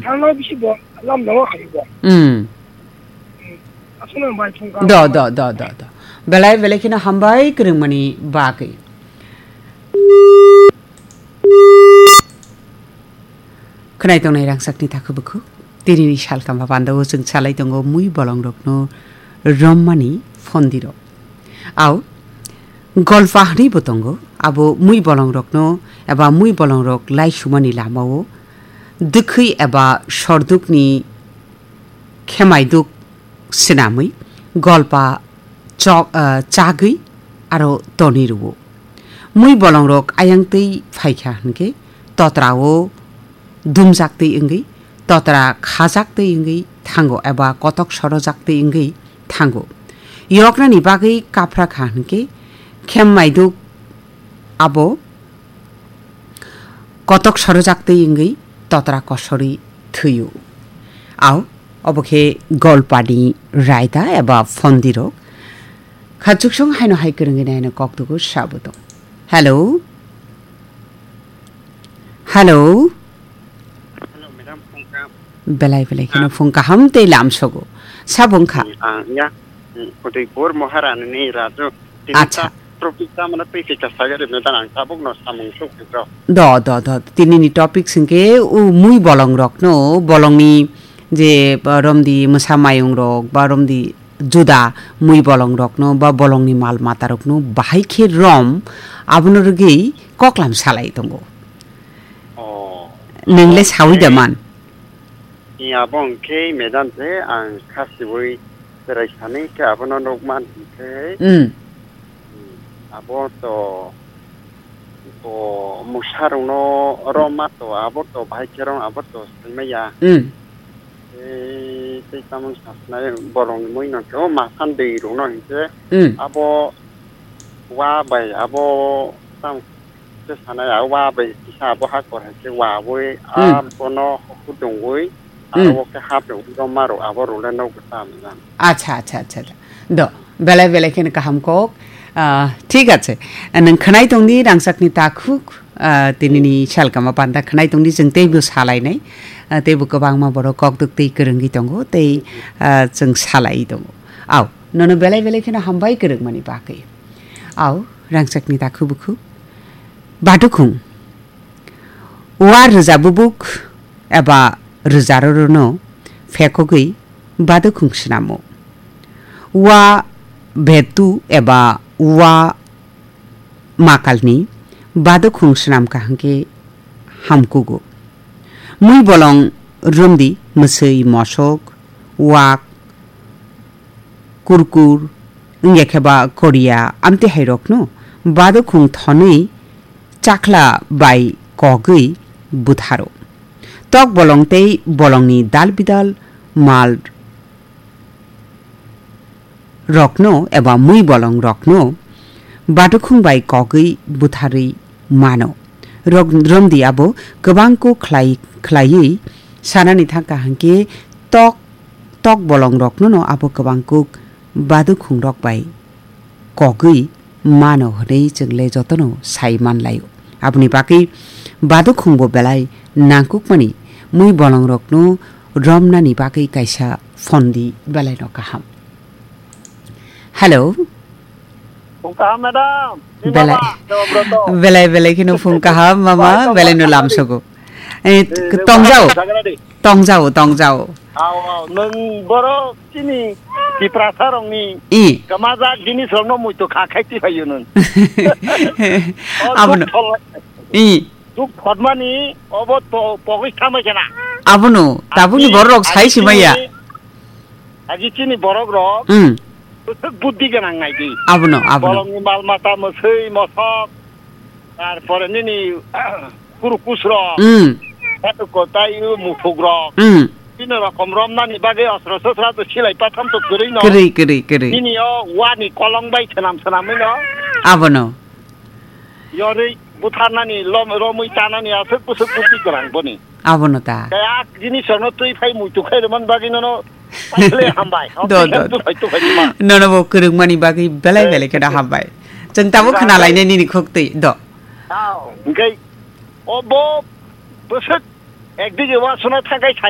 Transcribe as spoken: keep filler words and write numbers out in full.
Thangna bisi bo lam no khai bo. Hmm. Aswkno bai phung ka. Do, do, do, do, do. Belai, belai kheno hambai kwrwngmani bagwi. Khwnai tongnai rangchakni takhuk bukhuk. Tinini salkam ba pandao chwng salai tongo mui bolongrokno rommani phondirok. Au, golpa hwnwi bo tongo. Abo mui bolongrokno eba mui bolongrok laisumani lamao dwkhwi eba sordukni khemaiduk swnamwi golpa chok, ah, chagwi aro tonwi rwo. Mui bolongrok ayang twi phaikha hwnkhe totrao dumjak twi wngwi, totra khajak twi wngwi thango eba kotok sorojak twi wngwi thango. Yoknani bagwi kaphra kha hwnkhe khemaiduk abo kotok sorojak twi wngwi totra kosorwi thwio. Au, obo khe golpani raida eba phondirok. Khachuksong haino hai kwrwngwi naino koktugo sabo tong. Hello? Hello? Hello, madam, phung kaham. Belai belai kheno phung kaham tei lamsogo. Sabo wngkha? Hmm, ah, ya. Hmm, Udaipur Maharani ni Raju. Tini Acha. Ta topic ta mane twi kisa sagari medan ang tabuk no samung suk kisa. Do, do, do. Tinini topic singke u mui bolong rokno, bolongni je, ba, romdi mwsa mayung rok, ba romdi juda mui bolong rokno, ba bolongni mal mata rokno bahai khe rom, abono rwgwi koklam salai tongo. Oh. Nwng le sawi da man? Ni abo hwnkhe madam se ang khasiwi berai sani khe abono nukman hwnkhe, hmm, abo to, to mwsarokno roma to abo to bahai khe rong abo to saimaya. Hmm. Tei, tei tamo sasinai bolongni mui no khe o masan dei rokno hwnkhe, hmm, abo wa bai abo tamo Khe sanai, a wa bai kisa abo ha kor hai khe wa wi, hmm, a bono hudungwi, hmm, aro o khe hap rok wi roma rok abo role no gota mwnang. Acha, acha, acha, acha. Do, belai belai kheno kaham kok. Ah, thik ache. Nwng khwnai tongdi rangchakni takhuk, ah, tinini salkama panda khwnai tongdi, chwng teibo salainai. Ah, teibo kwbangma borok kok duk tei kwrwngwi tongo, tei, ah, chwng salai tongo. Au, nono belai belai kheno hambai kwrwngmani bagwi. Au, rangchakni takhuk bukhuk. Badukhung. Wa rwja bubuk eba rwjarorono phekogwi badukhung swnamo. Wa betu eba wa makalni badukhung swnam kaham khe hamkugo. Mui bolong romdi mwswi mosok, wak, kurkur, wngya khe ba koriya, amtwi hai rokno badukhung thonwi chakla bai kogwi butharo. Tok bolong tei bolongni dal bidal mal rokno eba mui bolong rokno badukhung bai kogwi butharwi mano. Rok-, romdi abo kwbang kuk khlai, khlaiwi sanani thangkha hwnkhe tok, tok bolong rokno no abo kwbang kuk badukhung rok bai kogwi mano hwnwi chwng le jotono sai manlaio. Aboni bagwi badukhung bo belai nangkukmani mui bolong rokno romnani bagwi kaisa phondi belai no kaham. Hello. Phung kaham, madam. Ni belai, mama, Debobroto. Belai, belai kheno phung kaham, mama, bai, belai no tong lamsogo. Eh, eh, tongjao. Sagra di. Tongjao, tongjao. Au, au, nwng borok chini Tiprasa rokni i. Kwmajak jinis rokno muitu kha khai ti phaio nwng. O, abono. Duk thol-, i. Duk thotmani obo to pogwi thamai khena. Abono, tabukni borok rok sai simaya. Agi chini borok rok, hmm, bwswk buddi gwnang nai di. Abono, abono. Bolongni mal mata, mwswi, mosok, tarpore nini kuru kus rok, hmm, kotai muthuk rok. Hmm. Bini rokom romnani bagwi osro sosra to silai patham to kwrwi no. Kwrwi, kwrwi, kwrwi. Nini o wani kolong bai swnam swnamwi no. Abono. Yorwi butharnani lom-, romwi tanani aswk bwswk bwswk gwnang boni. Abono ta. Kaya jinis rokno twi phai muitu khai rwmani bagwi nono paikhle hambai. Do, do, do. Twi phai, twi phai tuma. Nono bo kwrwngmani bagwi belai, eh, belai kheno hambai. Chwng tabuk khna lainai nini khuk twi. Do. Tao. Hwnkhe obo bwswk ekdige wasuna thangkai